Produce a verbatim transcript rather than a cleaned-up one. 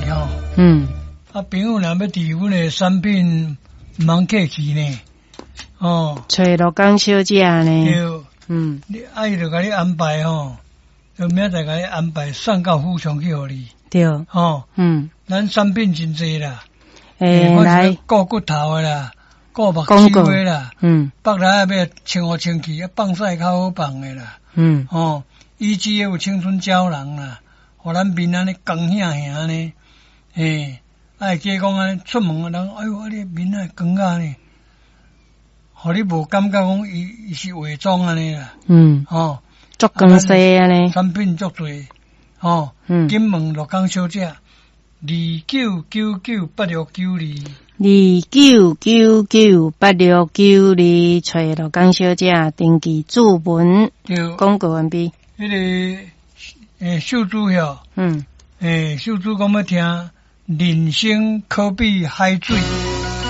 吼。嗯。啊，朋友若欲置阮的產品，毋通客氣呢。哦。揣樂工小姐呢？對。嗯。你啊，伊就共你安排吼，就明仔載共你安排送到府上去予你。對。吼。嗯。咱產品真濟啦。欸，來。顧骨頭的啦，顧目睭的啦。嗯。腹內欲清予清氣，啊，放屎較好放的啦。嗯。吼，以至有青春膠囊啦，予咱面按呢光顯顯按呢，嘿，啊會記講按呢出門人，哎喲，啊你面啊光啊呢，予你無感覺講伊伊是化妝按呢啦。嗯。吼，足光鮮按呢。產品足濟，吼。嗯。緊問樂工小姐，二九九九八六九二。二九九九八六九二，揣樂工小姐登記注文。對。廣告完畢。彼個欸秀珠曉，嗯，欸秀珠講欲聽人生可比海水。